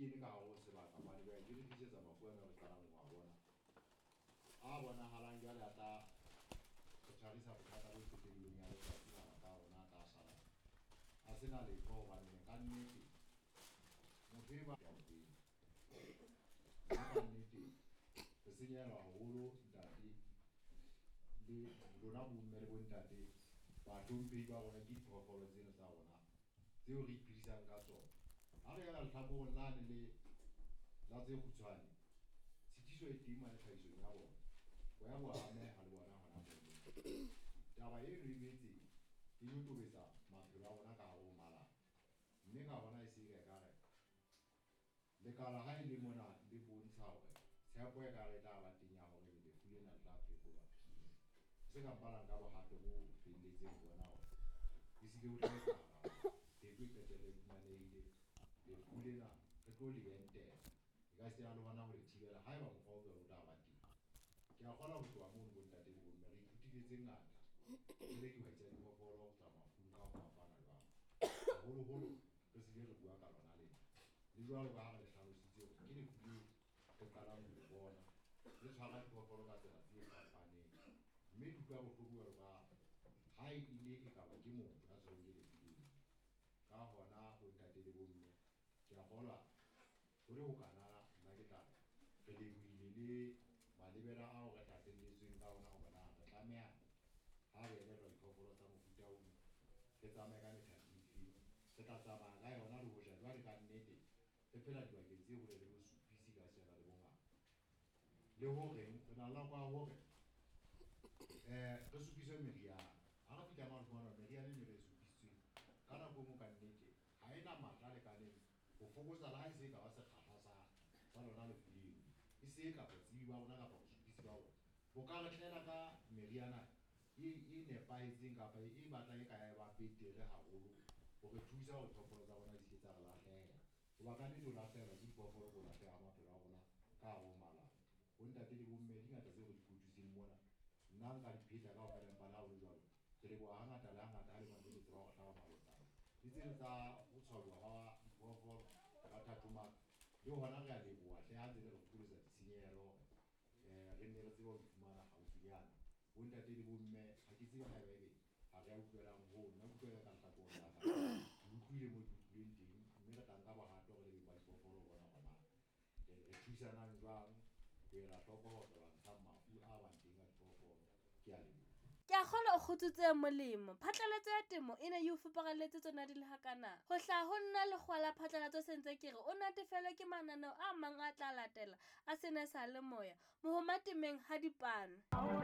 kene ka hare ho sebaka hobane jwale di re tlisetsa mafu ana re qalang ho a bona, a bonahalang jwale a tla re tshwarisa bothata bo qetellong ya letsatsi. Mabaka a rona a tla sala a sena letho hobane ka nnete motho e ba teng, mme ka nnete re senyehelwa haholo, ntate le lona bomme le bontate, bahlomphehi ba rona. Ke diphoofolo tsena tsa rona tseo re iphedisang ka tsona. Ha re ela lehlakoreng lane le la tse kgutshwane, tshitiso e teng mane tlhahisong ya bona, boya bo ameha le bona hona mono. Taba eno e boetse e nyotobetsa maphelo a rona ka hare ho malapa, mme ka hona e se e ekare lekala ha e le mona le bontsha hore tshepo e ka re e tla ba teng ya hore lefu lena le tla phekolwa, se ka mpalang ka bohato bo felletseng ho bona hore ehlile ho tla etsahala hore pheko e qetelle e fumanehile. Lefu lena re tlo le entela, e ka sitana le hona ho le thibela haeba mokgwa o jwalo o tla ba teng. Ke a kgolwa ho tloha mono, bontate le bomme, re ithutile tse ngata re le dihwai tsa diphoofolo ho tswa mafung ka ho fapana jwalo, haholoholo re sile re bua ka lona lena le jwalo ka ha re le hlalositse hore ke lefu leo re qalang ho le bona le tshwara diphoofolo ka tsela tse fapaneng, mme di utlwa bohloko jwalo ka ha e ile e kaba ke motho ya tshwerweng ke lefu leo. Ka hona, bontate le bomme, ke a kgolwa ho le hokana nna ke tla re lebohile le malebela ao re tlatselletsweng ka ona hore na re tlameha ha re elellwa diphoofolo tsa mofuta ono re tsamaye ka methati efeng, re tla tsamaya ka yona. Le hoja jwale ka nnete re phela dibakeng tse hole le bosupisi ka sena le bongaka, le horeng re na le nako ya hore re supiswe meriana. Ha re fihla mane, fumana hore meriana eno e re e supisitsweng ka nako e nngwe ka nnete ha ena matla a lekaneng ho fokotsa le ha e se e ka ba sekgahla sa lona lefu leo. E se ka botsebi ba rona kapa bosupisi ba rona bo ka re tlela ka meriana e nepahetseng kapa e batlang e ka ya ba betere haholo ho re thusa hore diphoofolo tsa rona di se ke tsa re lahlehela, hoba ka nnete ho lahlehelwa ke diphoofolo ke ho lahleha ha maphelo a rona ka hare ho malapa. Bontate le bomme, di ngata tseo re di kotutseng mona, nna nka di pheta kaofela, empa le ha ho le jwalo re leboha hangata le hangata ha le mantse le tseba hore hlaba malotsana le tseno tsa ho tshwaruwa ha diphoofolo ka thathomaka. Le hona re a leboha hle ha ntse le re fokoletsa ditshenyehelo hore re nne re tsebe ho di fumana haufinyana. Bontate le bomme, ha ke tsebe haeba ebe ha re a utlwelang hoo. Nna ke utlwela ka lehlakoreng la ka, ke utlwile mo ke utlwileng teng, mme re tla nka bohato re le beng ba diphoofolo ho bona hore na re thusanang jwang ho ela hloko hore re lwantshang mafu a bang teng a diphoofolo. Ke a leboha. Ke a kgolwa o kgutsitse molemo. Phatlalatso ya temo e ne e o fupareletse tsona di le hakana. Ho hlaha ho nna lekgowa la phatlalatso se ntse ke re o natefelwe ke mananeo a mang a tla latela a sena sa le moya. Mohoma temeng ha dipano.